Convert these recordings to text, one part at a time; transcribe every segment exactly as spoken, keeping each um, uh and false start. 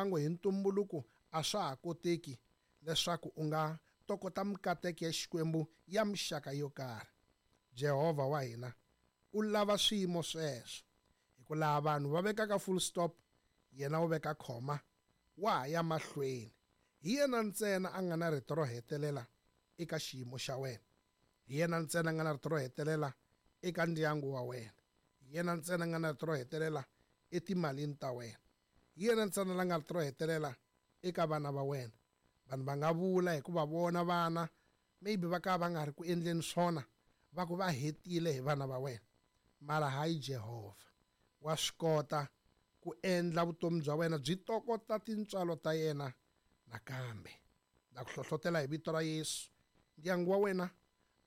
ndyangu hi ntumbuluko a swa ha koteki leswaku u nga tokota mikateko ya Xikwembu ya mixaka yo karhi. Jehovha wa hina u lava swiyimo sweswo, hi ku laha vanhu va vekaka full stop, yena u veka khoma, wa ha ya mahlweni. Hi yena ntsena a nga na rito ro hetelela eka xiyimo xa wena, hi yena ntsena a nga na rito ro hetelela eka ndyangu wa wena, hi yena ntsena a nga na rito ro hetelela etimalini ta wena, hi yena ntsena la nga rito ro hetelela eka vana va wena. Vanhu va nga vula hikuva vona vana maybe va ka va nga ri ku endleni swona, va ku va hetile hi vana va wena, mara hayi Jehovha wa swi kota ku endla vutomi bya wena byi tokota tintswalo ta yena. Nakambe na ku hlohlotela hi vito ra Yesu, ndyangu wa wena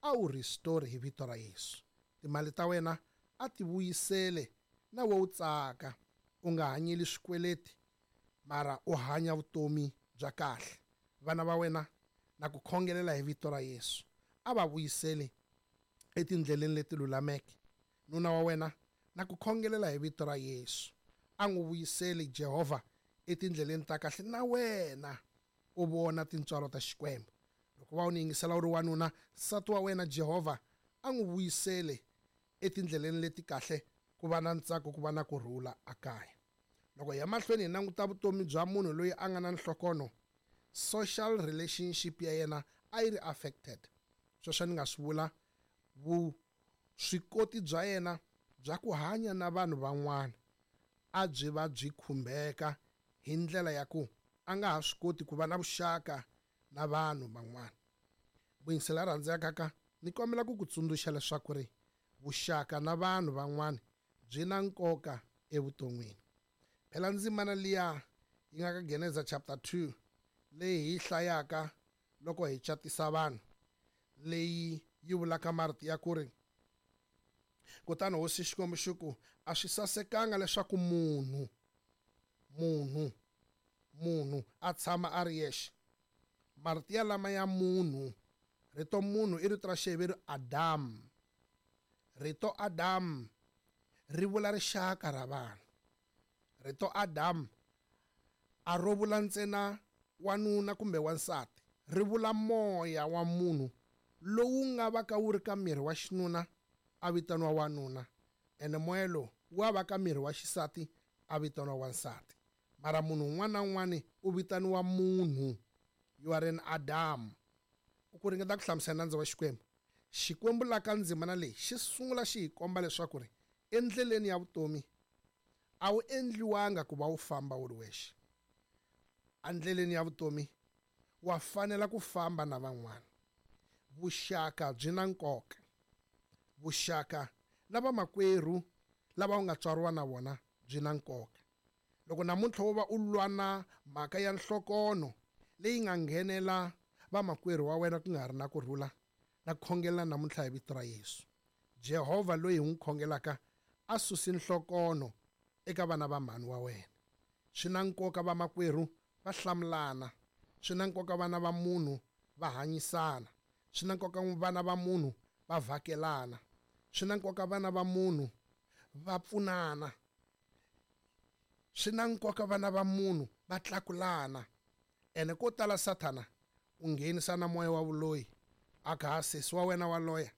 a wu restore hi vito ra Yesu, timali ta wena a ti vuyisele na we u tsaka, u nga hanyeli swikweleti mara u hanya vutomi bya kahle. Vana va wena na ku khongelela hi vito ra Yesu a va vuyisele etindleleni leti lulameke. Nuna wa wena na ku khongelela hi vito ra Yesu a n'wi vuyisele Jehovha etindleleni ta kahle, na wena u vona tintswalo ta Xikwembu. Loko va u ni yingisela u ri wanuna, nsati wa wena Jehovha a n'wi vuyisele etindleleni leti kahle, ku va na ntsako, ku va na kurhula akaya. Loko hi ya mahlweni hi languta vutomi bya munhu loyi a nga na nhlokono, social relationship ya yena a yi ri affected. Sweswo ni nga swi vula vuswikoti bya yena bya ku hanya na vanhu van'wana a byi va byi khumbeka hi ndlela ya ku a nga ha swi koti ku va na vuxaka na vanhu van'wana. Vuyingisela rhandzekaka ka ni kombela ku ku tsundzuxa leswaku ri vuxaka na vanhu van'wana byi na nkoka evuton'wini. Phela ndzimana liya yi nga ka Geneza chapter two leyi hi hlayaka loko hi catisa vanhu, leyi yi vulaka marito ya ku ri kutani hosi Xikwembu xi ku a swi sasekanga leswaku munhu munhu munhu a tshama a ri yexe. Marito ya lama ya munhu, rito munhu i rito ra Xiheveru Adam. Rito Adam ri vula rixaka ra vanhu. Rito Adam a ro vula ntsena wanuna kumbe wansati, ri vula moya wa munhu lowu nga va ka wu ri ka miri wa xinuna a vitaniwa wanuna, ene moya lowu wa va ka miri wa xisati a vitaniwa wansati. Mara munhu un'wana na un'wana u vitaniwa munhu. You are an Adam. U ku ringeta ku hlamusela nandzu wa Xikwembu. Xikwembu la ka ndzimana leyi xi sungula xi hi komba leswaku ri endleleni ya vutomi a wu endliwanga ku va wu famba wu ri wexe. Endleleni ya vutomi wa fanela ku famba na van'wana. Vuxaka byi na nkoka. Vuxaka na vamakwerhu lava u nga tswariwa na vona byi na nkoka. Loko namuntlha wo va u lwa na mhaka ya nhlokono leyi nga nghenela vamakwerhu wa wena ku nga ri na kurhula, na khongelela namuntlha hi vito ra Yesu. Jehovha loyi hi n'wi khongelaka a susi nhlokono eka vana va mhani wa wena. Swi na nkoka vamakwerhu va hlamulana, swi na nkoka vana va munhu va hanyisana, swi na nkoka vana va munhu va vhakelana, swi na nkoka vana va munhu va pfunana, swi na nkoka vana va munhu va tlakulana. Ene ko tala Sathana u nghenisa na moya wa vuloyi, a ka ha sesi wa wena wa loya,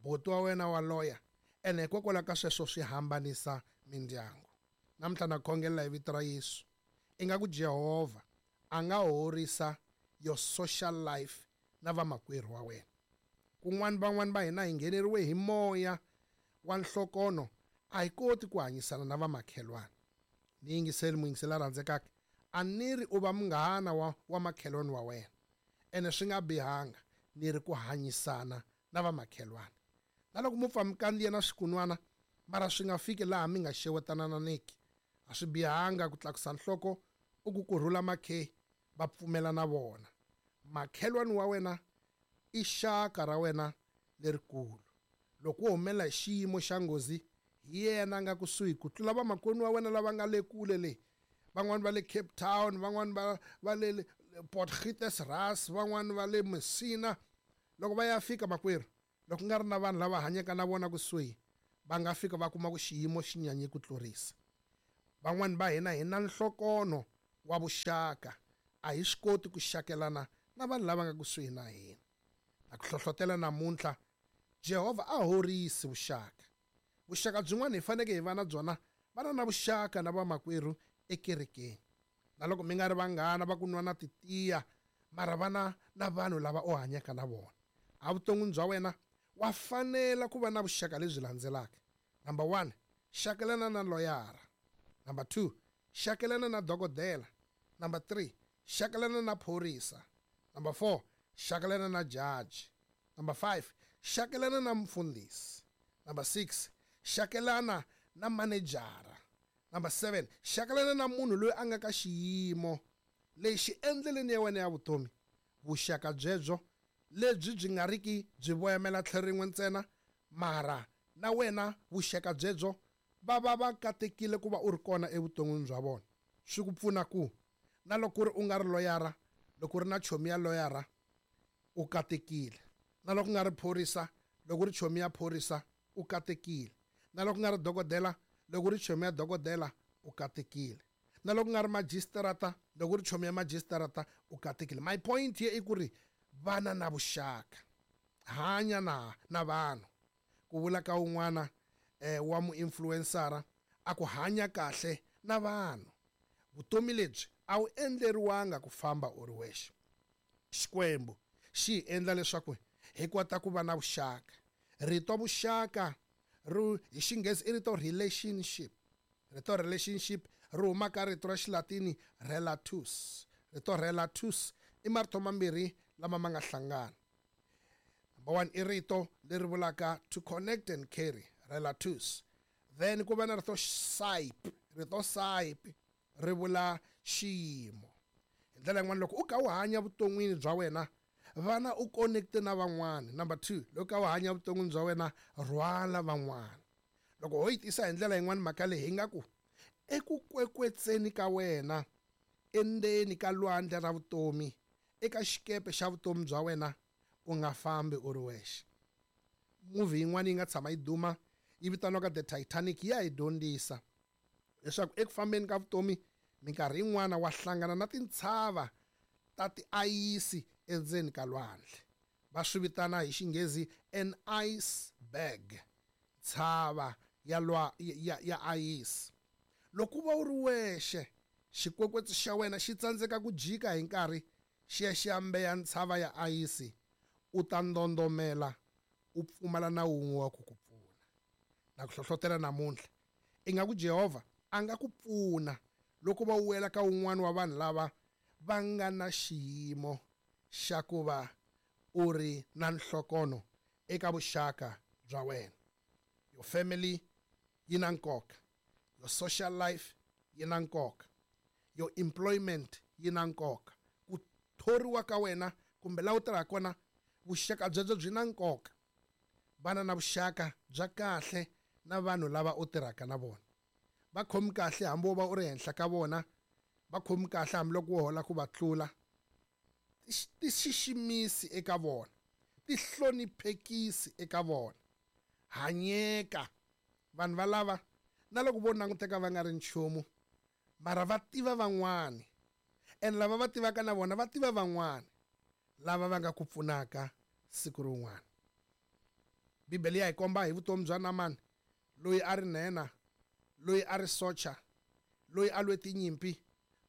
buti wa wena wa loya, ene hikokwalaho ka sweswo swi hambanisa mindyangu. Namuntlha na khongelela hi vito ra Yesu, ingaku Jehovha a nga horisa your social life na vamakwerhu wa wena. Kun'wana van'wana va hina hi ngheneriwe hi moya wa nhlokono, a hi koti ku hanyisana na vamakhelwana. Ni yingiseli muyingiseli la rhandzekaka, a ni ri u va munghana wa, wa makhelwani wa wena, ene swi nga bihanga, ni ri ku hanyisana na vamakhelwana. Na loko mu pfa mi kandziya na swikunwana, mara swi nga fiki laha mi nga xewetanananiki. A swi bihanga ku tlakusa nhloko u ku kurhula makhe va pfumela na vona. Makhelwani wa wena i xaka ra wena lerikulu. Loko wo humelela hi xiyimo xa nghozi, hi yena a nga kusuhi ku tlula vamakwenu wa wena lava nga le kule le. Van'wani va le Cape Town, van'wani va va le Port Ras, van'wani va le Messina. Loko va ya fika makwerhu, loko nga ri na vanhu lava hanyaka na vona kusuhi, va nga fika va kuma ku xiyimo xi nyanye ku tlurisa. Van'wani va hina hi na nhlokono wa vuxaka a hi swi koti ku xakelana na vanhu lava nga kusuhi na hina. Na ku hlohlotela namuntlha, Jehovha a horisi vuxaka. Vuxaka byin'wana hi faneke hi va na byona, va na na vuxaka na vamakwerhu ekerekeni. Na loko mi nga ri vanghana va ku nwa na titiya, mara va na na vanhu lava u hanyaka na vona. Evuton'wini bya wena wa fanela ku va na vuxaka lebyi landzelaka. Number one, xakelana na loyara. Number two, xakelana na dokodela. Number three, xakelana na phorisa. Number four, xakelana na judge. Number five, xakelana na mfundhisi. Number six, xakelana na manejara. Number seven, xakelana na munhu loyi a nga ka xiyimo lexi endleleni ya wena ya vutomi. Vuxaka byebyo lebyi byi nga riki byi voyamela tlhelo rin'we ntsena, mara na wena vuxaka byebyo va va va katekile ku va u ri kona evuton'wini bya vona. Swi ku pfuna ku na loko ku ri u nga ri loyara, loko u ri na chomi ya loyara u katekile. Na loko u nga ri phorisa, loko u ri chomi ya phorisa u katekile. Na loko u nga ri dokodela, loko u ri chomi ya dokodela u katekile. Na loko u nga ri magistrata, loko u ri chomi ya magistrata u katekile. My point here i ku ri vana na vuxaka, hanya na na vanhu. Ku vula ka un'wana eh, wa muinfluencera a ku hanya kahle na vanhu. Vutomi lebyi a wu endleriwanga ku famba u ri wexe. Xikwembu xi hi endla leswaku hi kota ku va na vuxaka. Rito vuxaka ri hi Xinghezi i rito relationship. Rito relationship ri huma ka rito ra Xilatini relatus. Rito relatus i marito mambirhi lama ma nga hlangana. Number one i rito leri vulaka to connect and carry, relatus. Then ku va na rito sip. Rito sip ri vula xiyimo. Hi ndlela yin'wana, loko u kha u hanya vuton'wini bya wena, vana u connect na van'wana. Number two, loko u kha u hanya vuton'wini bya wena, rhwala van'wana. Loko ho yi tisa hi ndlela yin'wana mhaka leyi, hi nga ku eku kwekwetseni ka wena endzeni ka lwandle ra vutomi, eka xikepe xa vutomi bya wena, u nga fambi u ri wexe. Movie yin'wana yi nga tshama yi duma yi vitaniwaka The Titanic ya hi dyondzisa leswaku eku fambeni ka vutomi minkarhi yin'wana wa hlangana na tintshava ta tiayisi endzeni ka lwandle. Va swi vitana hi Xinghezi an iceberg, ntshava ya lwa ya, ya ayisi. Loko u va u ri wexe, xikwekwetsu xa wena xi tsandzeka ku jika hi nkarhi xi ya xi ya mbeya ntshava ya ayisi, u ta ndondomela u pfumala na wun'we wa ku ku pfuna. Na ku hlohlotela namuntlha, ingaku Jehovha a nga ku pfuna loko va wela ka un'wana wa vanhu lava va nga na xiyimo xa ku va u ri na nhlokono eka vuxaka bya wena. Your family yi na nkoka, your social life yi na nkoka, your employment yi na nkoka, ku thoriwa ka wena kumbe laha u tirhaka kona, vuxaka byebyo byi na nkoka. Vana na vuxaka bya kahle na vanhu lava u tirhaka na vona. Va khomi kahle hambi wo va u ri henhla ka vona, va khomi kahle hambiloko wo hola ku va tlula. Ti xiximisi eka vona, ti hloniphekisi eka vona. Hanyeka. Vanhu va lava na loko vo languteka va nga ri nchumu, mara va tiva van'wani, and lava va tivaka na vona va tiva van'wani lava va nga ku pfunaka siku rin'wana. Bibele ya hi komba hi vutomi bya Naamani, loyi a ri nhenha, loyi a ri socha, loyi a lwe tinyimpi,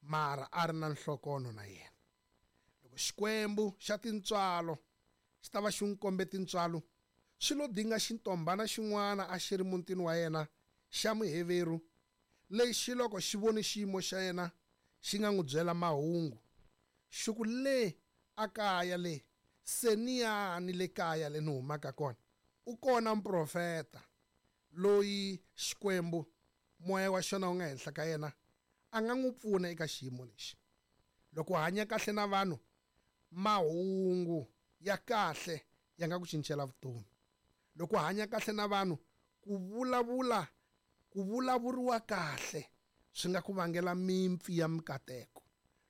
mara a ri na nhlokono na yena. Loko Xikwembu xa tintswalo xi ta va xi n'wi kombe tintswalo, swi lo dinga xintombhana xin'wana a xi ri mutini wa yena xa Muheveru, lexi loko xi vone xiyimo xa yena xi nga n'wi byela mahungu. Xi ku le a kaya le, seniyani le kaya le ni humaka kona, u kona muprofeta loyi Xikwembu moya wa xona wu nga henhla ka yena, a nga n'wi pfuna eka xiyimo lexi. Loko u hanya kahle na vanhu, mahungu ya kahle ya nga ku cincela vutomi. Loko u hanya kahle na vanhu, ku vulavula ku vulavuriwa kahle swi nga ku vangela mimpfi ya mikateko.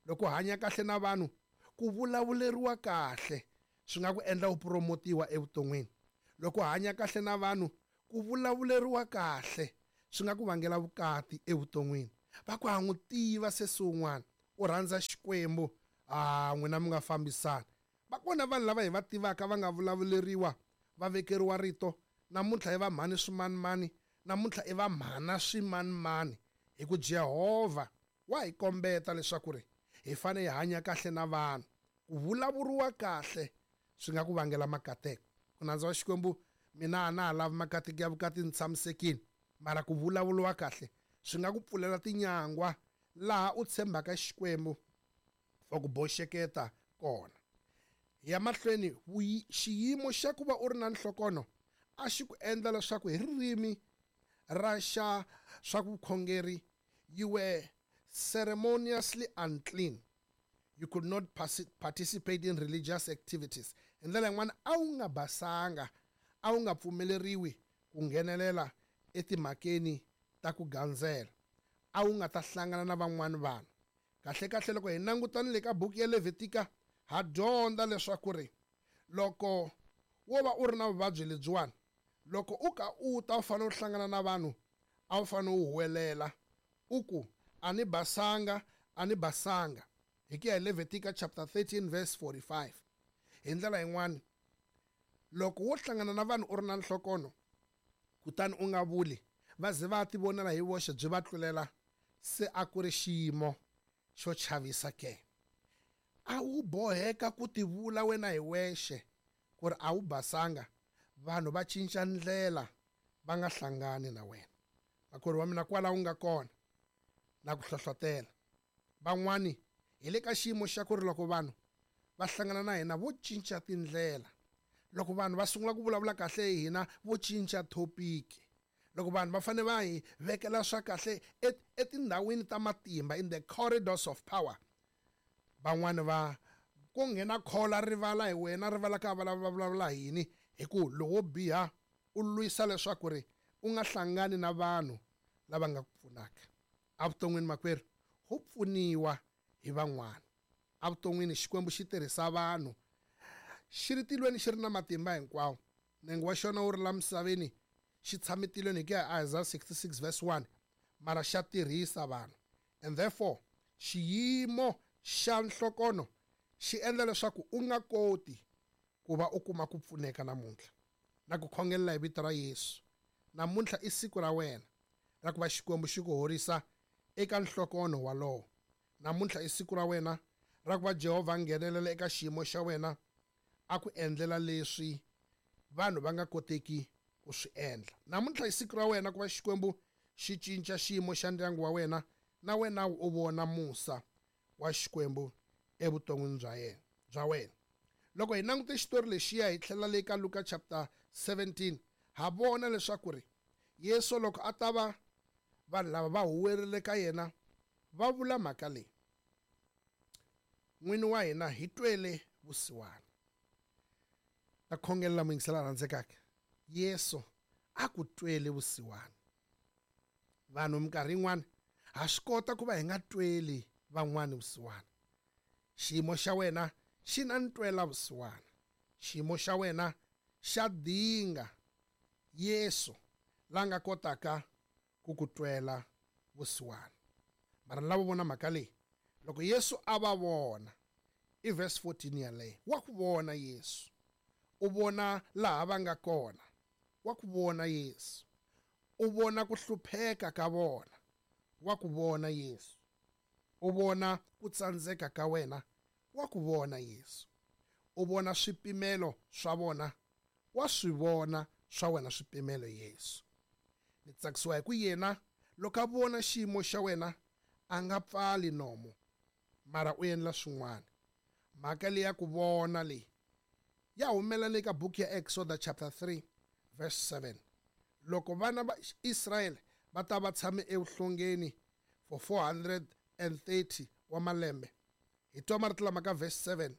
Loko u hanya kahle na vanhu, ku vulavuleriwa kahle swi nga ku endla u promotiwa evuton'wini. Loko u hanya kahle na vanhu, ku vulavuleriwa kahle swi nga ku vangela vukati evuton'wini. Va ku ha n'wi tiva sesi wun'wana, u rhandza Xikwembu, a n'wina mi nga fambisana. Va kona vanhu lava hi va tivaka va nga vulavuleriwa, va vekeriwa rito, namuntlha i va mhani swimanimani, namuntlha i va mhana swimanimani, hi ku Jehovha wa hi kombeta leswaku ri hi fanele hi hanya kahle na vanhu. Ku vulavuriwa kahle swi nga ku vangela makateko. Ku nandza wa Xikwembu, mina a na ha lavi makateko ya vukati, ni tshamisekile, mara ku vulavuriwa kahle swi nga ku pfulela tinyangwa laha u tshembaka Xikwembu for ku boxeketa kona. Ya mahlweni, xiyimo xa ku va u ri na nhlokono a xi ku endla leswaku hi ririmi ra xa swa vukhongeri you were ceremoniously unclean. You could not participate in religious activities. Hi ndlela yin'wana a wu nga basanga, a wu nga pfumeleriwi ku nghenelela etimhakeni ta ku gandzela, a wu nga ta hlangana na van'wani vanhu. Kahle kahle loko hi langutana le ka buku ya Levitika, ha dyondza leswaku ri loko wo va u ri na vuvabyi lebyiwani, loko u ka u ta u fanele u hlangana na vanhu, a wu fanele u huwelela u ku a ni basanga, a ni basanga. Hi ku ya hi Levitika chapter thirteen verse forty-five. Hi ndlela yin'wani, loko wo hlangana na vanhu u ri na nhlokono kutani u nga vuli, va ze va tivonela hi voxe byi va tlulela, se a ku ri xiyimo xo chavisa ke. A wu boheka ku tivula wena hi wexe ku ri a wu basanga, vanhu va cinca ndlela va nga hlangani na wena. Makwerhu wa mina, kwala wu nga kona na ku hlohlotela van'wani hi le ka xiyimo xa ku ri loko vanhu va hlangana na hina vo cinca tindlela, loko vanhu va sungula ku vulavula kahle hi hina vo cinca topic, loko vanhu va fanele va hi vekela swa kahle etindhawini ta matimba, in the corridors of power, van'wani va ku nghena khola rivala hi wena, rivala ka va vulavula yini, hi ku lowo biha u lwisa leswaku ri u nga hlangani na vanhu lava nga ku pfunaka. Evuton'wini makwerhu, ho pfuniwa hi van'wana. Evuton'wini Xikwembu xi tirhisa vanhu, xi ri tilweni xi ri na matimba hinkwawo, nenge wa xona wu ri la misaveni, xi tshame tilweni hi ku ya Isaiah sixty-six verse one, mara xa tirhisa vanhu. And therefore xiyimo xa nhlokono xi endla leswaku u nga koti ku va u kuma ku pfuneka namuntlha. Na ku khongelela hi vito ra Yesu, namuntlha i siku ra wena ra ku va Xikwembu xi ku horisa eka nhlokono walowo. Namuntlha i siku ra wena ra ku va Jehovha a nghenelela eka xiyimo xa wena, a ku endlela leswi vanhu va nga koteki ku swi endla. Namuntlha i siku ra wena ku va Xikwembu xi cinca xiyimo xa ndyangu wa wena, na wena u vona musa wa Xikwembu evuton'wini bya yena bya wena. Loko hi langute xitori lexiya hi tlhela le ka Luka chapter seventeen, ha vona leswaku ri Yesu loko a ta va vanhu lava va huwerile ka yena va vula mhaka leyi, n'wini wa hina hi twele vusiwana. Na khongelela muyingisela rhandzekaka, Yesu a ku twele vusiwana. Vanhu minkarhi yin'wana ha swi kota ku va hi nga tweli van'wani vusiwana. Xiyimo xa wena xi na ntwela vusiwana, xiyimo xa wena xa dinga Yesu la nga kotaka ku ku twela vusiwana. Mara lava vona mhaka leyi, loko Yesu a va vona, i verse fourteen yaleyo, wa ku vona Yesu, u vona laha va nga kona, wa ku vona Yesu, u vona ku hlupheka ka vona, wa ku vona Yesu, u vona ku tsandzeka ka wena, wa ku vona Yesu, u vona swipimelo swa vona, wa swi vona swa wena swipimelo Yesu. Ni tsakisiwa hi ku yena loko a vona xiyimo xa wena a nga pfali nomo, mara u endla swin'wana. Mhaka leyi ya ku vona leyi ya humelela eka buku ya Exodus chapter three verse seven. Loko vana va Israyele va ta va tshame evuhlongeni for four hundred and thirty wa malembe, hi twa marito lama ka verse seven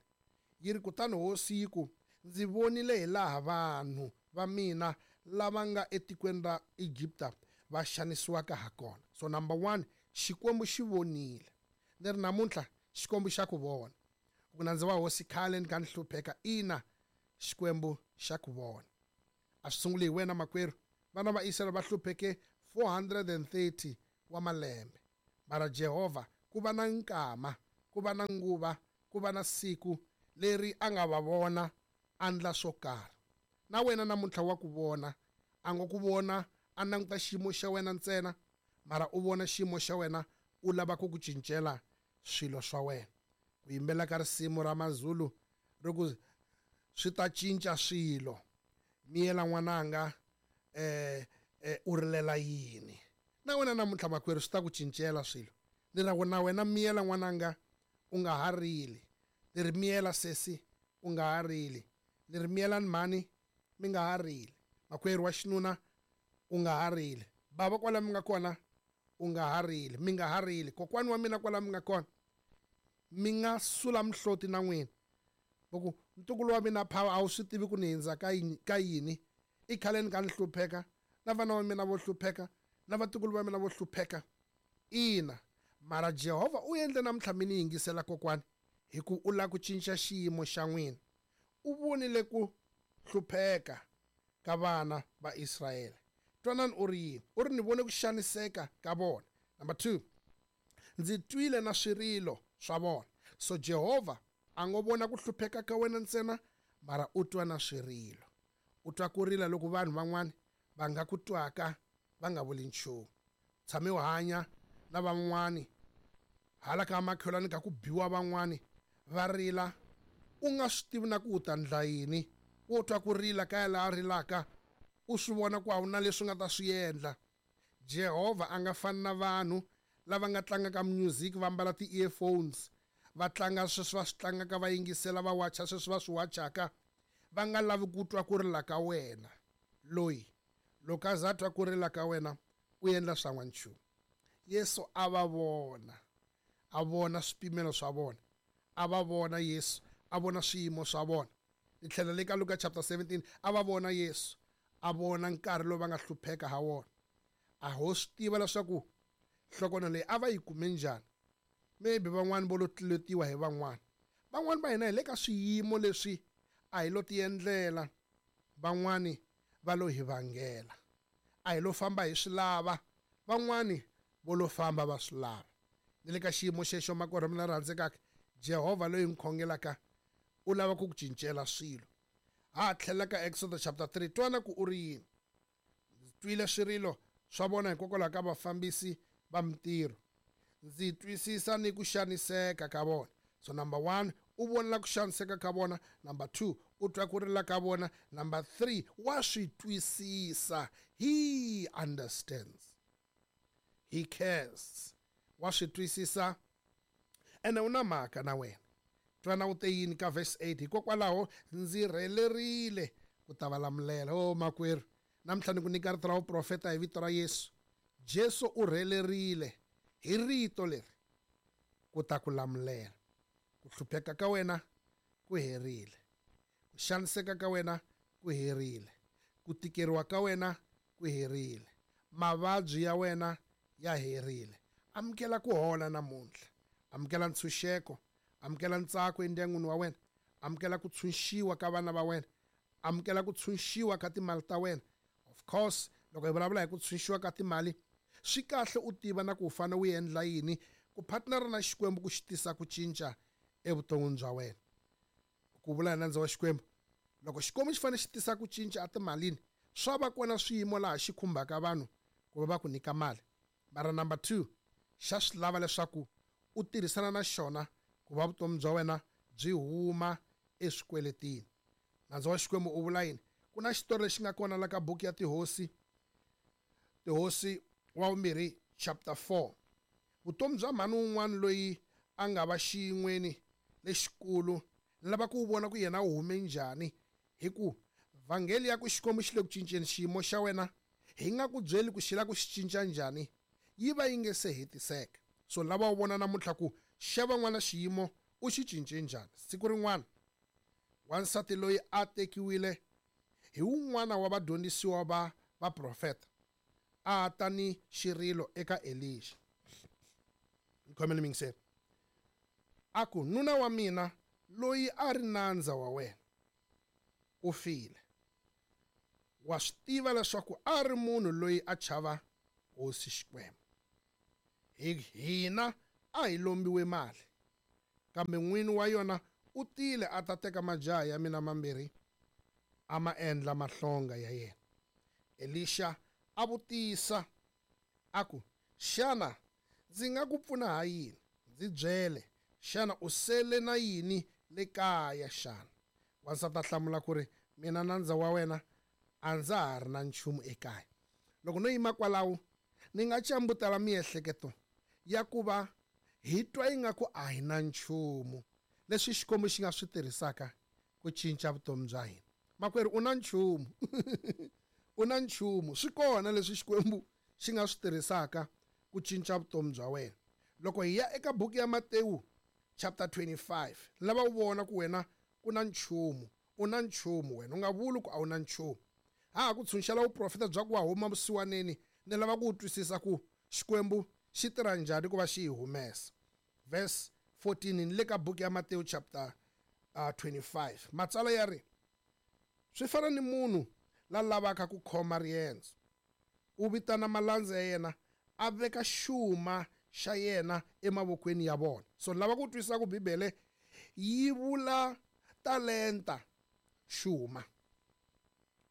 yi ri, kutani hosi yi ku, ndzi vonile hi laha vanhu va mina lava nga etikweni ra Egipta va xanisiwaka ha kona. So number one, Xikwembu xi vonile. Ni ri namuntlha Xikwembu xa ku vona. Ku nandza wa hosi khale ni ka ni hlupheka, ina Xikwembu xa ku vona. A swi sunguli hi wena makwerhu, vana va Israyele va hlupheke four hundred and thirty wa malembe, mara Jehovha ku va na nkama ku va na nguva, ku va na siku leri a nga va vona a ndla swo karhi. Na wena namuntlha wa ku vona, a ngo ku vona a languta xiyimo xa wena ntsena, mara u vona xiyimo xa wena u lava ku ku cincela swilo swa wena. Ku yimbela ka risimu ra Mazulu ri ku swi ta cinca swilo, miyela n'wananga eh eh u rilela yini. Na wena namuntlha makwerhu swi ta ku cincela swilo. Ni ra na wena miyela n'wananga u nga ha rili, ni ri miyela sesi u nga ha rili, ni ri miyelani mhani mi nga ha rili, makwerhu wa xinuna u nga ha rili, bava kwala mi nga kona u nga ha rili, mi nga ha rili, kokwani wa mina kwala mi nga kona mi nga sula mihloti na n'wina. Loko ntukulu wa mina phawa a wu swi tivi ku ni hindza ka yini, ka yini, i khaleni ka ni hlupheka, na vana va mina vo hlupheka, na vatukulu va mina vo hlupheka. Ina, mara Jehovha u endle namuntlha mi ni yingisela kokwani, hi ku u lava ku cinca xiyimo xa n'wina. U vonile ku hlupheka ka vana va Israyele. Twanani u ri yini? U ri ni vone ku xaniseka ka vona. Number two, ndzi twile na swirilo swa vona. So Jehovha a ngo vona ku hlupheka ka wena ntsena, mara u twa na swirilo. U twa ku rila loko vanhu van'wani va nga ku twaka va nga vuli nchumu. Tshame u hanya na van'wani hala ka makhelwani ka ku biwa van'wani va rila, u nga swi tivi na ku u ta ndla yini. Wo twa ku rila ka ya laha rilaka, u swi vona ku a wu na leswi nga ta swi endla. Jehovha a nga fani na vanhu lava nga tlangaka music va ambala ti-earphones, va tlanga sweswi va swi tlangaka, va yingisela, va wacha sweswi va swi wachaka, va nga lavi ku twa ku rila ka wena. Loyi loko a za twa ku rila ka wena u endla swa n'wanchumu. Yesu a va vona, a vona swipimelo swa vona, a va vona Yesu, a vona swiyimo swa vona. Ni tlhela le ka Luka chapter seventeen, a va vona Yesu, a vona nkarhi lowu va nga hlupheka ha wona. A ho swi tiva leswaku nhlokono leyi a va yi kume njhani. Maybe van'wani vo lo tluletiwa hi van'wani, van'wani va hina hi le ka swiyimo leswi a hi lo ti endlela, van'wani va lo hi vangela. A hi lo famba hi swi lava, van'wani vo lo famba va swi lava. Ni le ka xiyimo xexo makwerhu mina rhandzekaka, Jehovha loyi hi n'wi khongelaka u lava ku ku cincela swilo. Ha tlhela ka Exodus chapter three, twana ku u ri yini. Ndzi twile swirilo swa vona hikokwalaho ka vafambisi va mintirho, ndzi twisisa ni ku xaniseka ka vona. So number one, u vona ku xaniseka ka vona. Number two, u twa ku rila ka vona. Number three, wa swi twisisa. He understands, he cares, wa swi twisisa ene u na mhaka na wena. Twana u te yini ka verse eight, hikokwalaho ndzi rhelerile ku ta va lamulela. O makwerhu, namuntlha ni ku nyika rito ra vuprofeta hi vito ra Yesu. Jesu u rhelerile hi rito leri ku ta ku lamulela. Ku hlupheka ka wena ku herile, ku xaniseka ka wena ku herile, ku tikeriwa ka wena ku herile, mavabyi ya wena ya herile. Amukela ku hola namuntlha, amukela ntshunxeko, amukela ntsako endyangwini wa wena, amukela ku tshunxiwa ka vana va wena, amukela ku tshunxiwa ka timali ta wena. Of course, loko hi vulavula hi ku tshunxiwa ka timali, swi kahle u tiva na ku u fanele u endla yini ku partnera na Xikwembu ku xi tisa ku cinca evuton'wini bya wena. Ku vula hi nandza wa Xikwembu, loko Xikwembu xi fanele xi tisa ku cinca etimalini, swa va kona swiyimo laha xi khumbaka vanhu ku va va ku nyika mali. Mara number two, xa swi lava leswaku u tirhisana na xona ku va vutomi bya wena byi huma eswikweletini. Nandza wa Xikwembu u vula yini? Ku na xitori lexi nga kona la ka buku ya Tihosi, Tihosi wa vumbirhi chapter four. Vutomi bya mhani wun'wana loyi a nga va xiyin'weni lexikulu, ni lava ku vona ku yena u hume njhani, hi ku vhangeli ya ku Xikwembu xi le ku cinceni xiyimo xa wena, hi nga ku byeli ku xi lava ku xi cinca njhani, yi va yi nge se hetiseka. So lava u vona namuntlha ku xa van'wana xiyimo u xi cince njhani. Siku rin'wana wansati loyi a tekiwile hi wun'wana wa vadyondzisiwa va vaprofeta, a ta ni xirilo eka Elisha. Khomele mingiseni. A ku, nuna wa mina loyi a ri nandza wa wena u file. Wa swi tiva leswaku a ri munhu loyi a chava Hosi Xikwembu. Hi hina a hi lombiwe mali, Kambe n'wini wa yona u tile a ta teka majaha ya mina mambirhi a ma endla mahlonga ya yena. Elisha a vutisa a ku, xana ndzi nga ku pfuna ha yini? Ndzi byele, xana u sele na yini le kaya xana? Wansati a hlamula ku ri, mina nandza wa wena a ndza ha ri na nchumu ekaya. Loko no yima kwalaho ni nga cambutela miehleketo ya ku va hi twa ingaku a hi na nchumu leswi Xikwembu xi nga swi tirhisaka ku cinca vutomi bya hina. Makwerhu, u na nchumu. U na nchumu. Swi kona leswi Xikwembu xi nga swi tirhisaka ku cinca vutomi bya wena. Loko hi ya eka buku ya Matewu chapter twenty-five, lava u vona ku wena ku na nchumu, u na nchumu wena, u nga vuli ku a wu na nchumu. Ha ha ku tshunxela vuprofeta bya ku wa huma vusiwaneni, ni lava ku twisisa ku Xikwembu xi tirha njhani ku va xi hi humesa. Verse fourteen ni le ka buku ya Matewu chapter uh, twenty-five. Matsalwa ya ri, swi fana ni munhu la lavaka ku khoma riendzo. U vitana malandza ya yena, a veka xuma xa yena emavokweni ya vona. So lava ku twisisa ku Bibele yi vula talenta xuma.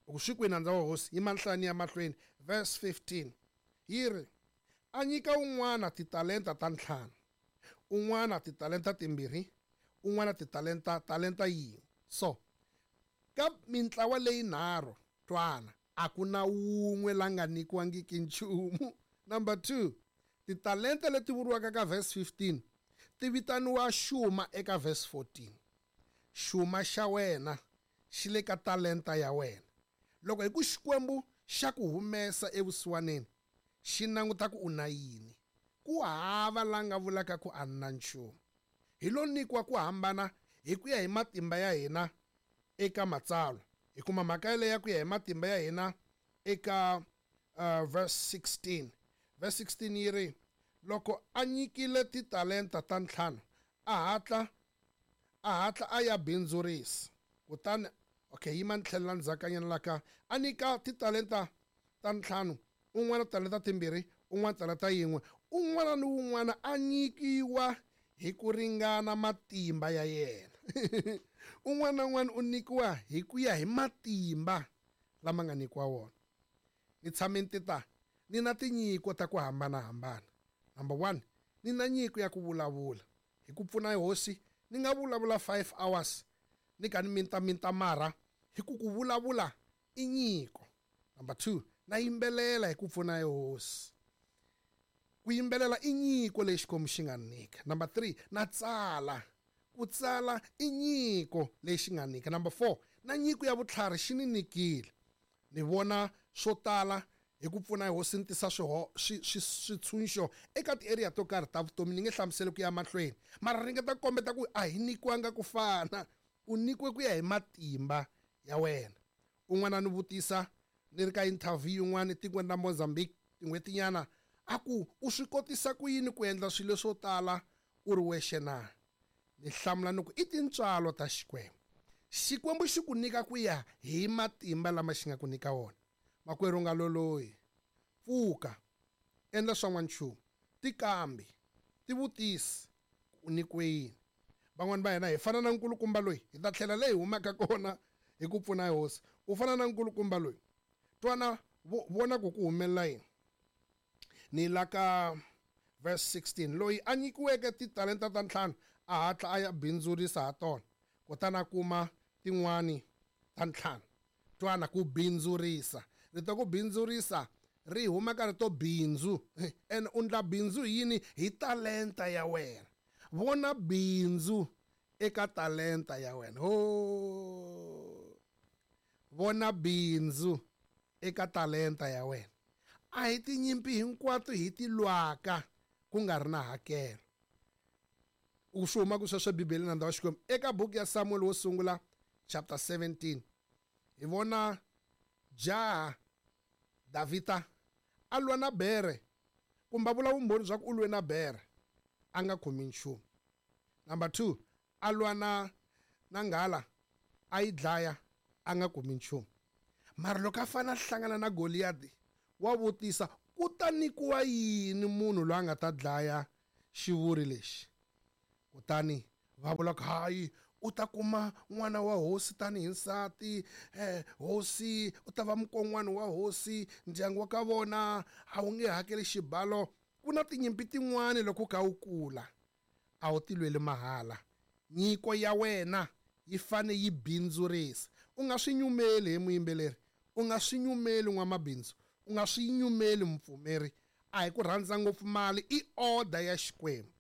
Loko swi kwini nandza wa hosi, yi mahlani ya mahlweni. Verse fifteen yi ri, a nyika un'wana titalenta ta ntlhanu, un'wana titalenta timbirhi, un'wana titalenta talenta yin'we. So ka mintlawa leyi nharhu, twana, a ku na wun'we la nga nyikiwangiki nchumu. Number two, titalenta leti vuriwaka ka verse fifteen ti vitaniwa xuma eka verse fourteen. Xuma xa wena xi le ka talenta ya wena. Loko hi ku Xikwembu xa ku humesa evusiwaneni, xi languta ku u na yini. Ku hava la nga vulaka ku a na nchumu. Hi lo nyikiwa ku hambana hi ku ya hi matimba ya hina eka matsalwa. Hi kuma mhaka yaleyo ya ku ya hi matimba ya hina eka uh, verse sixteen. Verse sixteen yi ri, loko a nyikile titalenta ta ntlhanu, a hatla a hatla a ya bindzurisa. Kutani okay, yima ni tlhelela ndzhakanyana la ka a nyika titalenta ta ntlhanu, un'wana talenta timbirhi, un'wana talenta yin'we, un'wana ni un'wana a nyikiwa hi ku ringana matimba ya yena. Un'wana na un'wana u nyikiwa hi ku ya hi matimba lama nga nyikiwa wona. Ni tshame ni ta ni na tinyiko ta ku hambanahambana. Number one, ni na nyiko ya ku vulavula. Hi ku pfuna hosi, ni nga vulavula five hours ni ka ni minta minta mara hi ku ku vulavula i nyiko. Number two, na yimbelela hi ku pfuna hosi. Ku yimbelela i nyiko leyi Xikwembu xi nga nyika. Number three, na tsala. Ku tsala i nyiko leyi xi nga nyika. Number four, na nyiko ya vutlhari xi ni nyikile. Ni vona swo tala hi ku pfuna hosi ni tisa swiho swi switshunxo eka ti-area to karhi ta vutomi. Ni nge hlamuseli ku ya mahlweni, mara ringeta ku kombeta ku a hi nyikiwanga ku fana. U nyikiwe ku ya hi matimba ya wena. Un'wana ni vutisa ni ri ka interview yin'wana etikweni ra Mozambique tin'hwetinyana, a ku u swi kotisa ku yini ku endla swilo swo tala u ri wexe na? Ni hlamula ni ku i tintswalo ta Xikwembu. Xikwembu xi ku nyika ku ya hi matimba lama xi nga ku nyika wona. Makwerhu nga loloyi, pfuka, endla swa n'wanchumu, tikambi, tivutisi u nyikiwe yini. Van'wani va hina hi fana na nkulukumba loyi, hi ta tlhela leyi humaka kona hi ku pfuna hosi. U fana na nkulukumba loyi, twana vona ku ku humelela yini. Ni la ka verse sixteen, loyi a nyikiweke titalenta ta ntlhanu a hatla a ya bindzurisa ha tona, kutani a kuma tin'wani ta ntlhanu. Twana ku bindzurisa, rito ku bindzurisa ri huma ka rito bindzu. And u ndla bindzu hi yini? Hi talenta ya wena. Vona bindzu eka talenta ya wena. Ho, vona bindzu eka talenta ya wena. A hi tinyimpi hinkwato hi ti lwaka ku nga ri na hakelo. U swi huma ku sweswo Bibeleni nandza wa Xikwembu. Eka buku ya Samuel wo sungula chapter seventeen, hi vona jaha Davhida a lwa na bere, kumbe a vula vumbhoni bya ku u lwe na bere a nga khomi nchumu. Number two, a lwa na na nghala a yi dlaya a nga kumi nchumu. Mara loko a fana a hlangana na Goliath, wa vutisa ku ta nyikiwa yini munhu loyi a nga ta dlaya xivuri lexi? Kutani Va vula ku hayi u ta kuma n'wana wa hosi tanihi nsati, eh, hosi u ta va mukon'wana wa hosi, ndyangu wa ka vona a wu nge hakeli xibalo. Ku na tinyimpi tin'wani loko u kha u kula a wu ti lweli mahala. Nyiko ya wena yi fane yi bindzurisa. U nga swi nyumeli he muyimbeleri, u nga swi nyumeli n'wamabindzu, u nga swi nyumeli mupfumeri. A hi ku rhandza ngopfu mali, i order ya Xikwembu.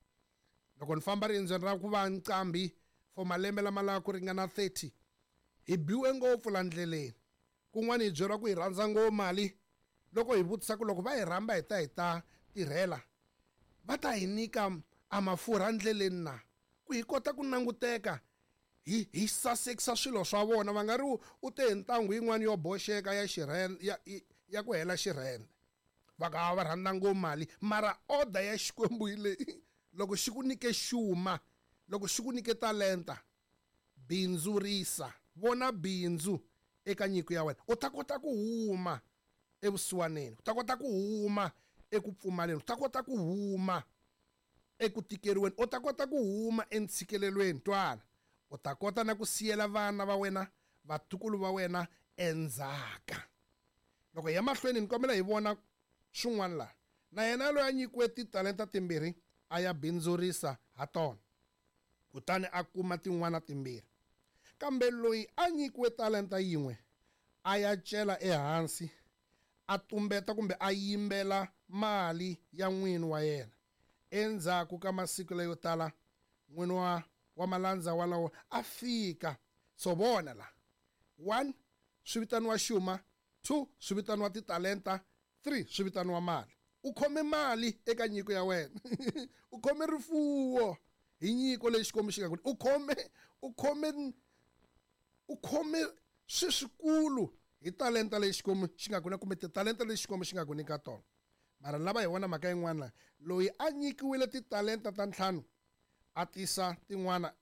Loko ni famba riendzweni ra ku va nqambi for malembe lama lava ku ringana thirty, hi biwe ngopfu la ndleleni. Kun'wana hi byeriwa ku hi rhandza ngopfu mali. Loko hi vutisa ku loko va hi rhamba hi ta hi ta tirhela, va ta hi nyika a mafurha ndleleni na ku hi kota ku languteka hi hi sasekisa swilo swa vona. Va nga ri u te hi ntangu yin'wana yo boxeka ya xirhende, ya, ya ku hela xirhende. Va ka va rhandza ngopfu mali, mara order ya Xikwembu hi leyi. Loko xi ku nyike xuma, loko xi ku nyike talenta, bindzurisa. Vona bindzu eka nyiko ya wena. U ta kota ku huma evusiwaneni, u ta kota ku huma eku pfumaleni, u ta kota ku huma eku tikeriweni, u ta kota ku huma entshikelelweni. Twana, u ta kota na ku siyela vana va wena, vatukulu va wena endzhaka. Loko hi ya mahlweni ni kombela hi vona swin'wana laha. Na yena loyi a nyikiwe titalenta timbirhi a ya bindzurisa ha tona, kutani a kuma tin'wana timbirhi. Kambe loyi a nyikiwe talenta yin'we a ya cela ehansi, a tumbeta kumbe a yimbela mali ya n'wini wa yena. Endzhaku ka masiku layo tala, n'wini wa, wa malandza walawo a fika. So vona la, one swi vitaniwa xuma, two swi vitaniwa titalenta, three swi vitaniwa mali. U khome mali eka nyiko ya wena. U khome rifuwo hi nyiko leyi Xikwembu xi nga ku. U khome, u khome, u khome swiswikulu hi talenta leyi Xikwembu xi nga ku nyika, kumbe titalenta leyi Xikwembu xi nga ku nyika tona. Mara lava hi vona mhaka yin'wana, loyi a nyikiwile titalenta ta ntlhanu a tisa tin'wana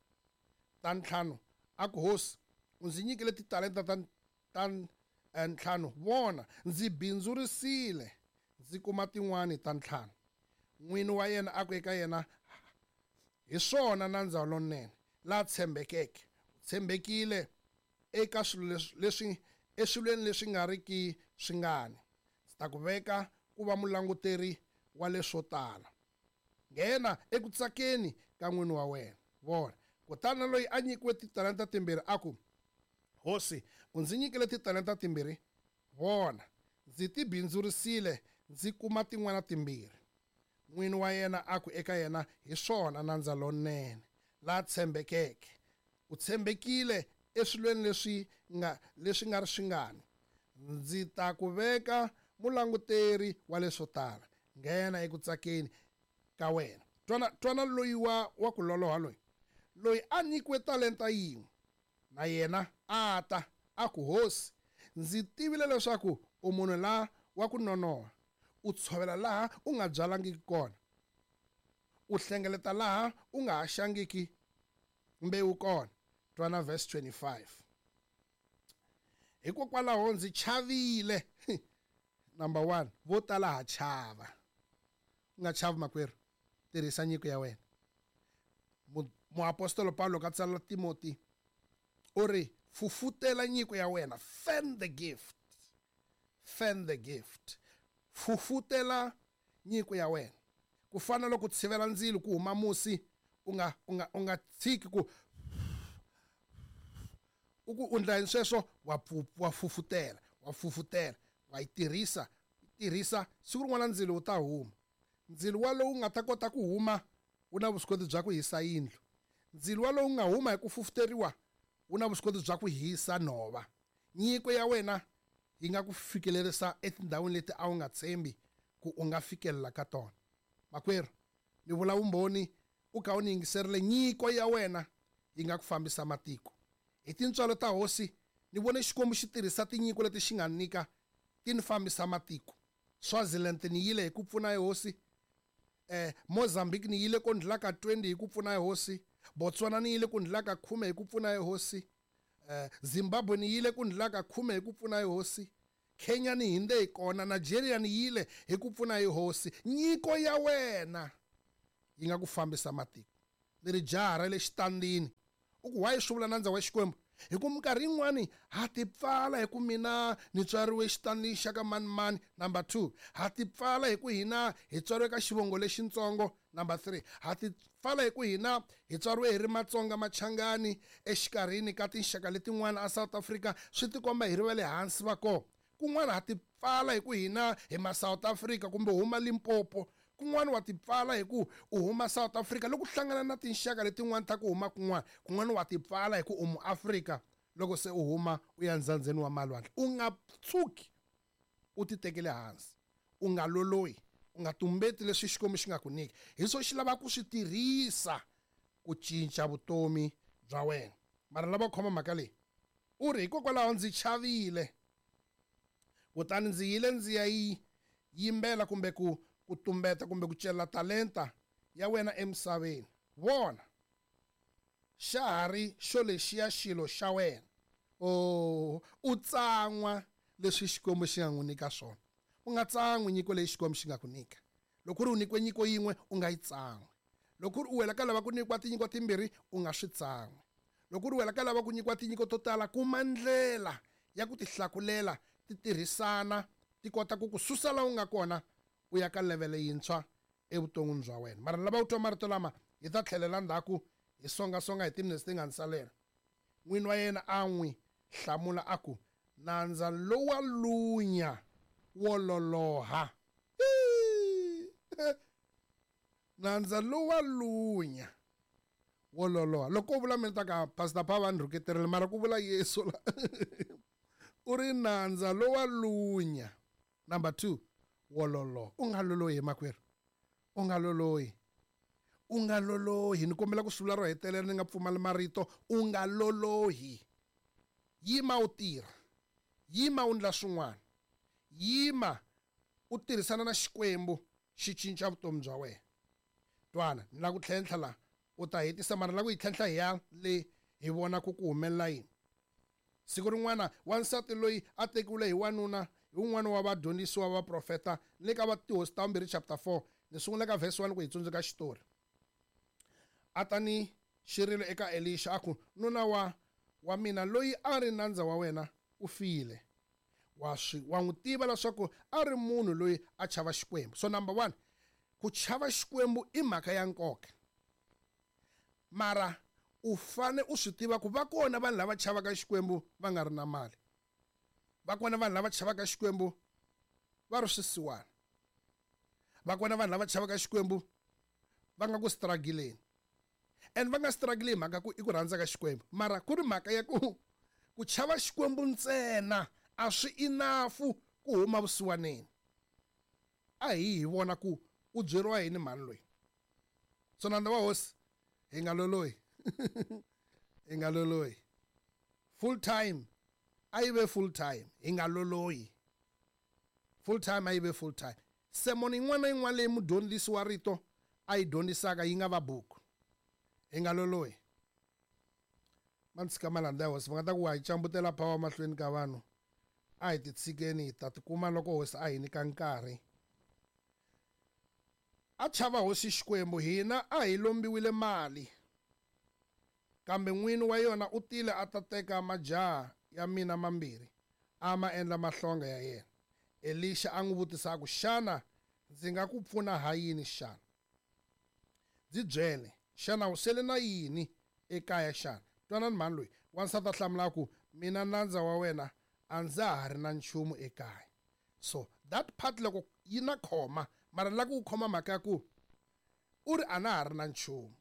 ta ntlhanu, a ku hosi, u ndzi nyikile titalenta ta, ta ntlhanu, vona ndzi bindzurisile ndzi kuma tin'wani ta ntlhanu. N'wini wa yena a ku eka yena, hi swona nandza lonene la tshembekeke, u tshembekile eka swilo leswi, leswi eswilweni leswi nga riki swingani, ndzi ta ku veka ku va mulanguteri wa leswo tala. Nghena eku tsakeni ka n'wini wa wena. Vona, kutani loyi a nyikiwe titalenta timbirhi a ku, hosi, u ndzi nyikile titalenta timbirhi, vona ndzi ti bindzurisile ndzi kuma tin'wana timbirhi. N'wini wa yena a ku eka yena, hi swona nandza lonene la tshembekeke, u tshembekile eswilweni leswi nga leswi nga ri swingani, ndzi ta ku veka mulanguteri wa leswo tala. Nghena eku tsakeni ka wena. Twana, twana loyi wa, wa ku loloha loyi, loyi a nyikiwe talenta yin'we, na yena a ta a ku, hosi, ndzi tivile leswaku u munhu la wa ku nonoha, u tshovela laha u nga byalangiki kona, u hlengeleta laha u nga haxangiki mbewu kona. Twana verse twenty-five. Hikokwalaho ndzi chavile. Number one, vo tala ha chava. U nga chavi makwerhu, tirhisa nyiko ya wena. Muapostolo Paulo ka tsala Timothy u ri, fufutela nyiko ya wena, fan the gift, fan the gift, fufutela nyiko ya wena. Ku fana loko tshivela ndzilo ku huma musi, u nga, u nga, u nga tshiki ku u ku u ndla yini sweswo, wa pfu-, wa fufutela, wa fufutela, wa yi tirhisa, tirhisa. Siku rin'wana ndzilo wu ta huma. Ndzilo wa lowu nga ta kota ku huma wu na vuswikoti bya ku hisa yindlu. Ndzilo wa lowu nga huma hi ku fufuteriwa wu na vuswikoti bya ku hisa nhova. Nyiko ya wena yi nga ku fikelerisa etindhawini leti a wu nga tshembi ku u nga fikelela ka tona. Makwerhu, ni vula vumbhoni u kha u ni yingiserile, nyiko ya wena yi nga ku fambisa matiko. Hi tintswalo ta hosi ni vone Xikwembu xi tirhisa tinyiko leti xi nga nyika ti ni fambisa matiko. Swaziland ni yile hi ku pfuna hi hosi, eh, Mozambique ni yile ku ndlula ka twenty hi ku pfuna hi hosi, Botswana ni yile ku ndlula ka khume hi ku pfuna hi hosi, eh, Zimbabwe ni yile ku ndlula ka khume hi ku pfuna hi hosi, Kenya ni hinde hi kona, Nigeria ni yile hi ku pfuna hi hosi. Nyiko ya wena yi nga ku fambisa matiko. Ni ri jaha ra le xitandini. U ku why swi vula nandza wa Xikwembu? Hi ku minkarhi yin'wani ha ti pfala hi ku mina ni tswariwe xitandini xa ka mani mani. Number two, ha ti pfala hi ku hina hi tswariwe ka xivongo lexintsongo. Number three, ha ti pfala hi ku hina hi tswariwe hi ri Matsonga Machangani exikarhini ka tinxaka letin'wana a South Africa, swi tikomba hi ri va le hansi va kona. Kun'wana ha ti pfala hi ku hina hi ma South Africa kumbe huma Limpopo. Kun'wana wa ti pfala hi ku u huma South Africa loko u hlangana na tinxaka letin'wana ta ku huma kun'wana. Kun'wana wa ti pfala hi ku u muAfrika loko se u huma u ya ndzandzeni wa malwandle. U nga tshuki u ti tekele hansi, u nga lolohi, u nga tumbeti leswi Xikwembu xi nga ku nyika. Hi swo xi lava ku swi tirhisa ku cinca vutomi bya wena. Mara lava khoma mhaka leyi, u ri hikokwalaho ndzi chavile, kutani ndzi yile ndzi ya yi yimbela kumbe ku ku tumbeta kumbe ku cela talenta ya wena emisaveni. Vona, xa ha ri xo lexiya xilo xa wena. Oh, u tsan'wa leswi Xikwembu xi nga n'wi nyika swona. U nga tsan'wi nyiko leyi Xikwembu xi nga ku nyika. Loko ku ri u nyikiwe nyiko yin'we, u nga yi tsan'wi. Loko ku ri u wela ka lava ku nyikiwa tinyiko timbirhi, u nga swi tsan'wi. Loko ku ri u wela ka lava ku nyikiwa tinyiko to tala, kuma ndlela ya ku ti hlakulela, ti tirhisana, ti kota ku ku susa laha u nga kona u ya ka level yintshwa evuton'wini bya wena. Mara lava u twa marito lama, hi ta tlhelela ndzhaku hi songasonga hi timinetse ti nga ni salela. N'wini wa yena a n'wi hlamula a ku, nandza lowa lunya wo loloha. Nandza lowa lunya wo loloha. Loko u vula mina ta ka Pastor Pava ni rhuketerile, mara ku vula Yesu la. U ri nandza lowa lunya. Number two, wo loloha. U nga lolohi makwerhu. U nga lolohi. U nga lolohi. Ni kombela ku swi vula ro hetelela ni nga pfumali marito. U nga lolohi. Yima u tirha. Yima u endla swin'wana. Yima u tirhisana na Xikwembu xi cinca vutomi bya wena. Twana, ni lava ku tlhentlha la. U ta hetisa mara ni lava ku yi tlhentlha hi ya le hi vona ku ku humelela yini. Siku rin'wana wansati loyi a tekiwile hi wanuna hi wun'wana wa vadyondzisiwa va vaprofeta le ka va Tihosi ta vumbirhi chapter four, ni sungula ka verse one ku hi tsundzuka xitori. A ta ni xirilo eka Elisha a ku, nuna wa, wa mina loyi a ri nandza wa wena u file. Wa swi, wa n'wi tiva leswaku a ri munhu loyi a chava Xikwembu. So number one, ku chava Xikwembu i mhaka ya nkoka. Mara u fane u swi tiva ku va kona vanhu lava chavaka Xikwembu va nga ri na mali. Va kona vanhu lava chavaka Xikwembu va ri swisiwana. Va kona vanhu lava chavaka Xikwembu va nga ku struggleni. And va nga struggle hi mhaka ku i ku rhandza ka Xikwembu. Mara ku ri mhaka ya ku ku chava Xikwembu ntsena a swi enough ku huma vusiwaneni. A hi hi vona ku u byeriwa yini mhani loyi. So nandza wa hosi, hi nga lolohi. Hi nga lolohi. Full time a yi ve full time, hi nga lolohi. Full time a yi ve full time. Sermon yin'wana na yin'wana leyi mudyondzisi wa rito a yi dyondzisaka yi nga va buku. Hi nga lolohi. Ma ni tshika malandza ya hosi, va nga ta ku wa hi cambutela power mahlweni ka vanhu. A hi ti tshikeni, hi ta tikuma loko hosi a hi nyika nkarhi. A chava hosi Xikwembu, hina a hi lombiwile mali. Kambe n'wini wa yona u tile a ta teka majaha ya mina mambirhi, a ma endla mahlonga ya yena. Elisha a n'wi vutisa a ku, xana ndzi nga ku pfuna ha yini xana? Ndzi byele, xana u sele na yini ekaya xana? Twanani mhani loyi, wansati a hlamula a ku, mina nandza wa wena a ndza ha ri na nchumu ekaya. So that part loko yi na khoma, mara ni lava ku khoma mhaka ya ku u ri a na ha ri na nchumu.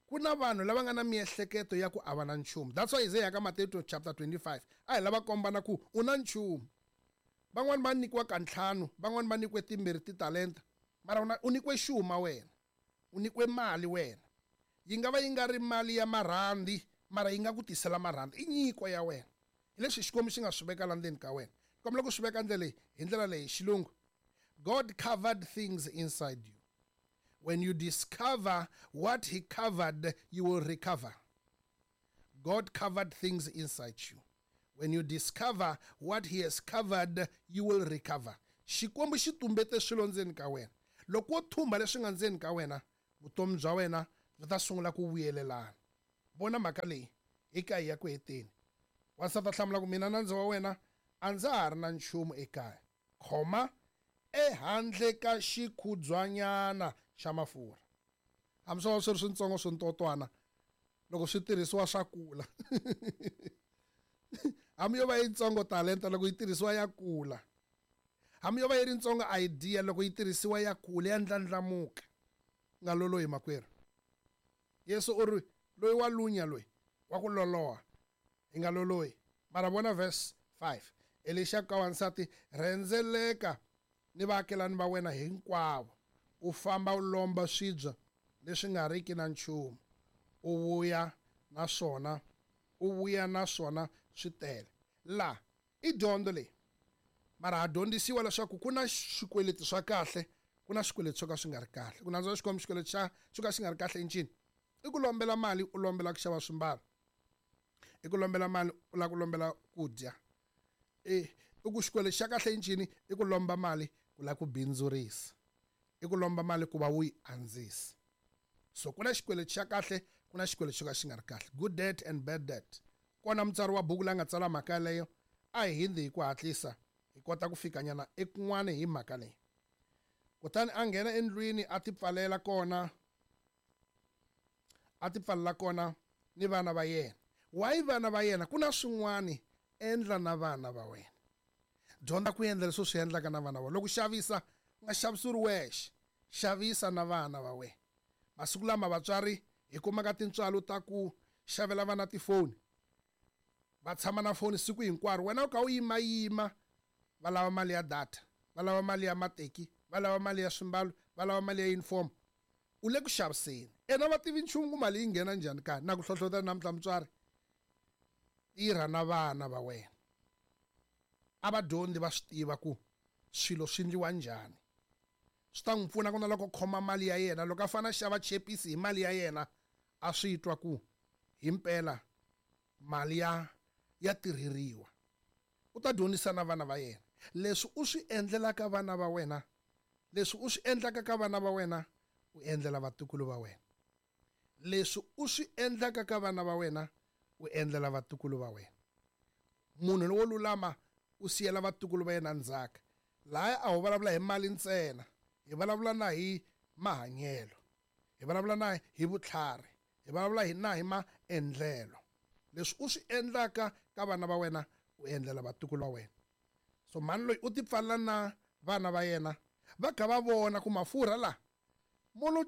Ku na vanhu lava nga na miehleketo ya ku a va na nchumu. That's why Isaiah ka Matthew chapter twenty-five a hi lava kombana ku u na nchumu. Van'wani va nyikiwa ka ntlhanu, van'wani va nyikiwe timbirhi titalenta, mara u na, u nyikiwe xuma wena, u nyikiwe mali wena. Yi nga va yi nga ri mali ya marhandi, mara yi nga ku tisela marhandi. I nyiko ya wena. Hi leswi Xikwembu xi nga swi veka la ndzeni ka wena. Kombela ku swi veka ndlela leyi, hi ndlela leyi xilungu. God covered things inside you. When you discover what he covered, you will recover. God covered things inside you. When you discover what he has covered, you will recover. Xikwembu xi tumbete swilo ndzeni ka wena. Loko wo thumba leswi nga ndzeni ka wena, vutomi bya wena byi ta sungula ku vuyelelana. Vona mhaka leyi hi ka hi ya ku heteni. Wansati a hlamula ku mina nandza wa wena a ndza ha ri na nchumu ekaya, khoma ehandle ka xikhudzwanyana xa mafurha. Hambi swo va swi ri swintsongo swintotwana, loko swi tirhisiwa swa kula. Hambi yo va yitsongo talenta, loko yi tirhisiwa ya kula. Hambi yo va yi ri ntsongo idea, loko yi tirhisiwa ya kula, ya ndlandlamuka. Nga lolohi makwerhu. Yesu u ri loyi wa lunya loyi wa ku loloha, hi nga lolohi. Mara vona verse five. Elisha ka wansati, rhendzeleka ni vaakelani va wena hinkwavo, u famba u lomba swibya leswi nga riki na nchumu, u vuya na swona, u vuya na swona swi tele. La i dyondzo leyi, mara ha dyondzisiwa leswaku ku na swikweleti swa kahle, ku na swikweleti swo ka swi nga ri kahle. Ku nandzwa xikwembu xikweleti xa xo ka xi nga ri kahle i ncini? I ku lombela mali u lombela ku xava swimbalo, i ku lombela mali u lava ku lombela ku dya. E i ku xikweleti xa kahle i ncini? I ku lomba mali ku lava ku bindzurisa, i ku lomba mali ku va wu yi andzisa. So ku na xikweleti xa kahle, ku na xikweleti xo ka xi nga ri kahle. Good debt and bad debt. Kona mutsari wa buku la nga tsala mhaka yaleyo, a hi hindzi hi ku hatlisa hi kota ku fikanyana ekun'wana hi mhaka leyi. Kutani a nghena endlwini a tipfalela kona, a tipfalela kona ni vana va yena. Why vana va yena? Ku na swin'wani endla na vana va wena. Dyondza ku endla leswi u swi endlaka na vana va wena. Loko xavisa, u nga xavisi u ri wexe, xavisa na vana va wena. Masiku lama vatswari hi kumaka tintswalo ta ku xavela vana tifoni, va tshama na foni siku hinkwaro, wena u kha u yimayima, va lava mali ya data, va lava mali ya mateki, va lava mali ya swimbalo, va lava mali ya uniform. U le ku xaviseni. Ena va tivi nchumu ku mali yi nghena njhani ka na ku hlohlotela namuntlha mutswari. Tirha na vana va wena. A va dyondzi va swi tiva ku swilo swi endliwa njhani. Swi ta n'wi pfuna ku na loko khoma mali ya yena, loko a fanele a xava chepisi hi mali ya yena, a swi twa ku himpela mali ya ya tirheriwa. U ta dyondzisa na vana va yena. Leswi u swi endlelaka vana va wena, leswi u swi endlaka ka vana va wena, u endlela vatukulu va wena. Leswi u swi endlaka ka vana va wena, u endlela vatukulu va wena. Munhu lowo lulama u siyela vatukulu va yena ndzhaka. Lahaya a ho vulavula hi mali ntsena, hi vulavula na hi mahanyelo, hi vulavula na hi vutlhari, hi vulavula hi na hi maendlelo. Leswi u swi endlaka ka vana va wena, u endlela vatukulu va wena. So mhani loyi u tipfalela na vana va yena, va kha va vona ku mafurha la mo lo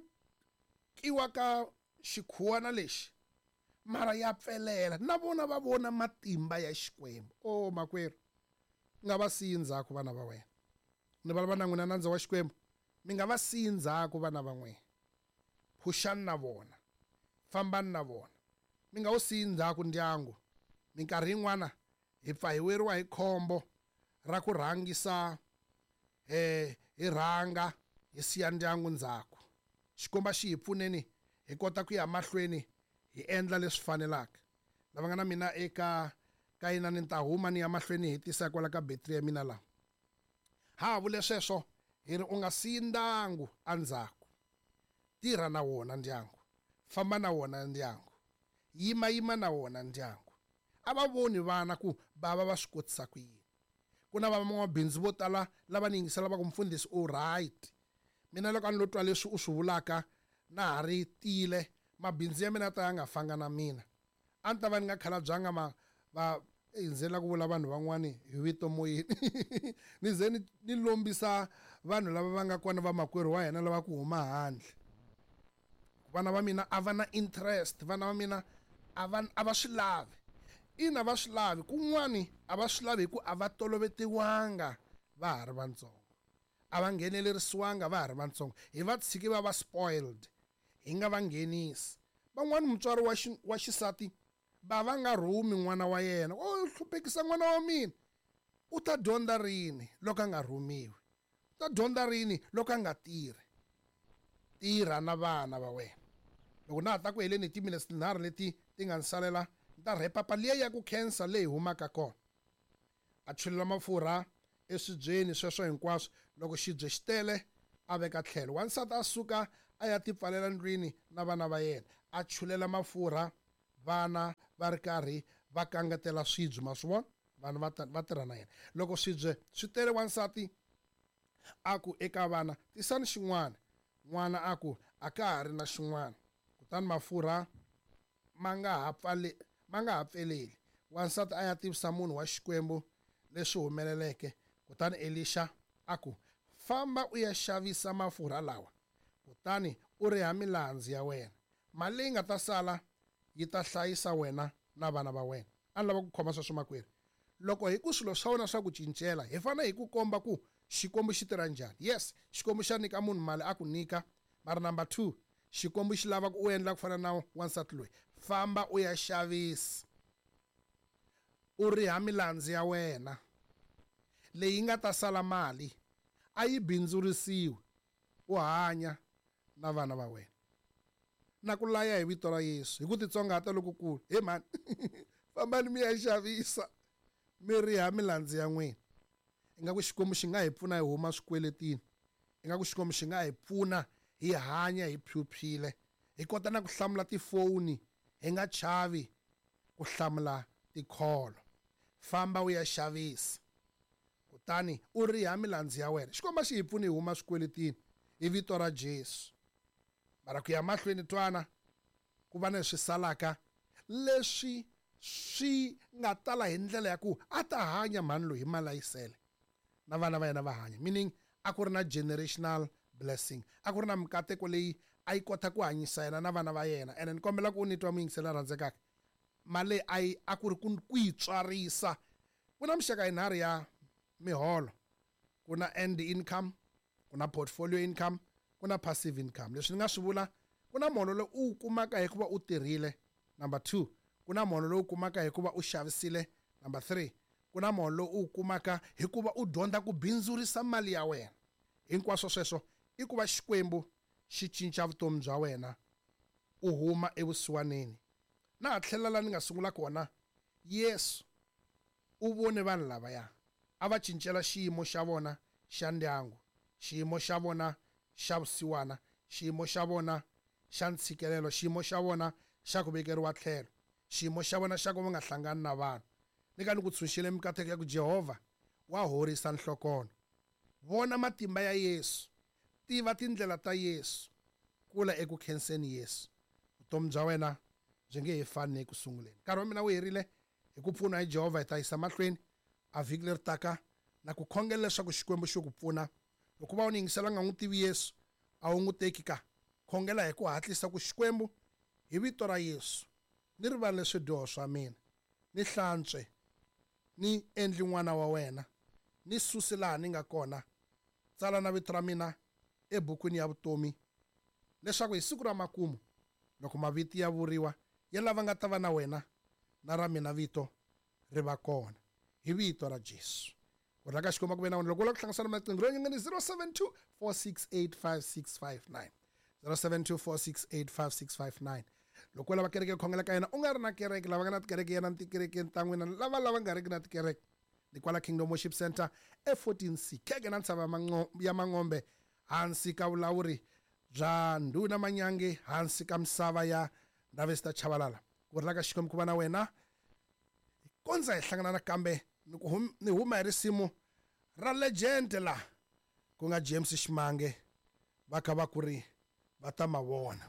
kiwa ka xikhuwana lexi, mara ya pfelela. Na vona va vona matimba ya Xikwembu. O makwerhu, nga va siyi ndzhaku vana va wena. Ni vulavula na n'wina nandza wa Xikwembu, mi nga va siyi ndzhaku vana va n'wina. Phuxani na vona, fambani na vona, mi nga wu siyi ndzhaku ndyangu. Minkarhi yin'wana hi pfa hi weriwa hi khombo ra ku rhangisa, eh, hi rhanga hi siya ndyangu ndzhaku. Xikwembu xi hi pfuneni hi kota ku ya mahlweni hi endla leswi fanelaka. Lava nga na mina eka ka yina ni ta huma ni ya mahlweni hi tisa kwala ka betri ya mina la. Ha vule sweswo hi ri u nga siyi ndyangu endzhaku. Tirha na wona ndyangu, famba na wona ndyangu, yima yima na wona ndyangu. A va voni vana ku bava va swi kotisa ku yini. Ku na van'wamabindzu vo tala lava ni yingisela va ku mfundhisi u right. Mina loko a ni lo twa leswi u swi vulaka na ha ri tiyile, mabindzu ya mina ta ya nga fanga na mina. A ni ta va ni nga khalabyanga ma va e ndzi la ku vula vanhu van'wani hi vito moyeni. Ni ze ni, ni lombisa vanhu lava va nga kona vamakwerhu wa hina lava ku huma handle. Vana va mina a va na interest, vana va mina a va, a va swi lavi. Ina va swi lavi, kun'wani a va swi lavi hi ku a va tolovetiwanga va ha ri vantsongo. A va nghenelerisiwanga va ha ri vantsongo. Hi va tshiki va va spoiled, hi nga va nghenisi. Van'wani mutswari wa xi, wa xisati va va nga rhumi n'wana wa yena. O hluphekisa n'wana wa mina. U ta dyondza rini loko a nga rhumiwi? U ta dyondza rini loko a nga tirhi? Tirha na vana va wena. Loko na ha ta ku heleni hi timinetse tinharhu leti ti nga ni salela, ni ta rhepapa liya ya ku khensa leyi humaka kona. A chulula mafurha eswibyeni sweswo hinkwaswo. Loko xibye xi tele, a veka tlhelo. Wansati a suka a ya tipfalela ndlwini na vana va yena, a chulela mafurha, vana va ri karhi va kangatela swibye. Ma swi vona, vanhu va va tirha na yena. Loko swibye swi tele, wansati a ku eka vana, tisani xin'wana. N'wana a ku, a ka ha ri na xin'wana. Kutani mafurha ma nga ha pfale ma nga ha pfeleli. Wansati a ya tivisa munhu wa Xikwembu leswi humeleleke. Kutani Elisha a ku, famba u ya xavisa mafurha lawa, kutani u riha milandzu ya wena. Mali leyi nga ta sala yi ta hlayisa wena na vana va wena. A ni lava ku khoma sweswo makwerhu. Loko hi ku swilo swa wena swa ku cincela, hi fanele hi ku komba ku Xikwembu xi tirha njhani. Yes, Xikwembu xa nyika munhu mali a ku nyika, mara number two, Xikwembu xi lava ku u endla ku fana na wansati loyi. Famba u ya xavisa, u riha milandzu ya wena. Leyi nga ta sala mali a yi bindzurisiwi, u hanya na vana va wena. Na ku laya hi vito ra Yesu, hi ku titsongahata lokukulu. He mhani, fambani mi ya xavisa, mi riha milandzu ya n'wina. Ingaku Xikwembu xi nga hi pfuna hi huma swikweletini. Ingaku Xikwembu xi nga hi pfuna hi hanya hi phyuphyile, hi kota na ku hlamula tifoni, hi nga chavi ku hlamula tikholo. Famba u ya xavisa, kutani u riha milandzu ya wena. Xikwembu xi hi pfuni hi huma swikweletini hi vito ra Jesu. Mara ku ya mahlweni twana, ku va na leswi salaka leswi swi nga tala hi ndlela ya ku a ta hanya mhani loyi hi mali a yi sele, na vana va yena va hanya. Meaning a ku ri na generational blessing, a ku ri na mikateko leyi a yi kota ku hanyisa yena na vana va yena. Ene ni kombela ku u ni twa muyingisela rhandzekaka, mali leyi a yi a ku ri ku yi tswarisa. Ku na mixaka yinharhu ya miholo. Ku na end income, ku na portfolio income, ku na passive income. Leswi ni nga swi vula, ku na muholo lowu u wu kumaka hikuva u tirhile. Number two, ku na muholo lowu kumaka hikuva u xavisile. Number three, ku na muholo lowu u wu kumaka hikuva u dyondza ku bindzurisa mali ya wena. Hinkwaswo sweswo i ku va Xikwembu xi cinca vutomi bya wena, u huma evusiwaneni. Na ha tlhela laha ni nga sungula kona, Yesu u vone vanhu lavaya a va cincela xiyimo xa vona xa ndyangu, xiyimo xa vona xa vusiwana, xiyimo xa vona xa ntshikelelo, xiyimo xa vona xa ku vekeriwa tlhelo, xiyimo xa vona xa ku va nga hlangani na vanhu. Ni ka ni ku tshunxile mikateko ya ku Jehovha wa horisa nhlokono. Vona matimba ya Yesu, tiva tindlela ta Yesu, kula eku khenseni Yesu. Vutomi bya wena byi nge he fani eku sunguleni. Nkarhi wa mina wu herile. Hi ku pfuna hi Jehovha hi ta yisa mahlweni a vhiki leri taka na ku khongela leswaku Xikwembu xi ku pfuna. Loko va u ni yingisela nga n'wi tivi Yesu, a wu n'wi teki ka. Khongela hi ku hatlisa ku Xikwembu hi vito ra Yesu, ni rivalele swidyoho swa mina, ni hlantswe, ni endli n'wana wa wena, ni susi laha ni nga kona, tsala na vito ra mina ebukwini ya vutomi, leswaku hi siku ra makumu loko mavito ya vuriwa ya lava nga ta va na wena, na ra mina vito ri va kona hi vito ra Jesu. Ku rhanga Xikwembu ku ve na wena. Loko u lava ku hlanganisana maqingho ro nyangani zero seven two four six eight five six five nine, zero seven two four six eight five six five nine. Loko u lava kereke yo khongela ka yena, u nga ri na kereke, lava nga na tikereke yena ni tikerekeni ta n'wina, lava lava nga riki na tikereke, ni kwala Kingdom Worship Center e fourteen C, kheke na ntshava ya Mangombe, hansi ka vulawuri bya Ndhuna Manyange, hansi ka misava ya Ndavesta Chabalala. Ku rila ka Xikwembu ku va na wena. Kondza hi hlangana nakambe, ni ku hum, ni huma hi risimu ra legend la ku nga James Ximange, va kha va ku ri va ta ma vona.